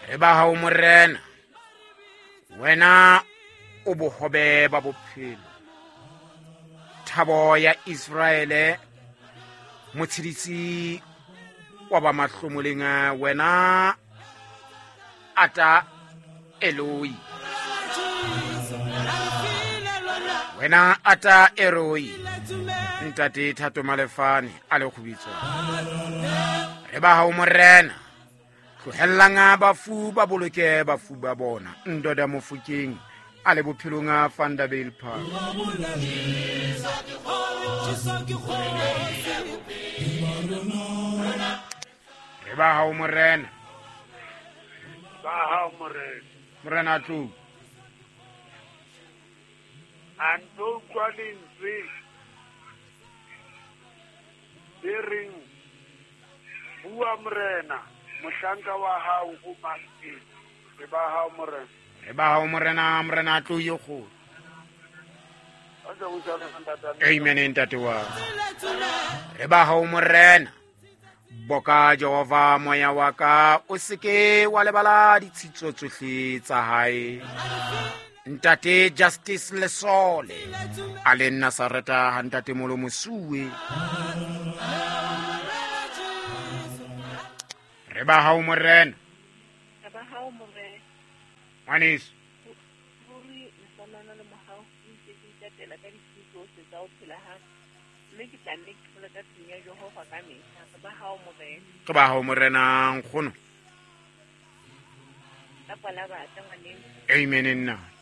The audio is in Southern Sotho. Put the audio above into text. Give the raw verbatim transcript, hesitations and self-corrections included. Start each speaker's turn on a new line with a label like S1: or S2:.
S1: Re ba hao morena, wena o bohobe ba bophelo, thabo ya Israele, motshedisi wa ba mahlomoleng, wena ata Eloi, wena ata Eroi, ntate Thato Malefane a le kgubitso. Re ba hao morena, tlohellang bafu ba boloke bafu ba bona, ndoda Mofokeng a le bophelong a Vanderbijl Park. Re ba hao morena,
S2: ba hao morena,
S1: morena tlou
S2: a nto utlwa lentswe le reng, bua morena, mohlanka wa hao o mametse. Re ba hao morena,
S1: re ba hao morena, morena tlou ye kgolo. Amen ntate wa. Re ba hao morena, boka Jehova moya wa ka, o seke wa lebala ditshitso tsohle tsa hae. Ntate Justice Lesole a le Nazareta ha ntate Molo Mosuwe. Re ba hao morena,
S3: re ba hao morena,
S1: ngwaneso
S3: ruri lesanana le mohau o ntse ke itatela ka ditshiu tsohle tsa ho phela ha mme ke tla nne ke phela ka tlung ya Jehova ka mehla. Re ba hao morena,
S1: re ba hao morena nkgono.
S3: Ka pala batla ngwaneng.
S1: Amen nna.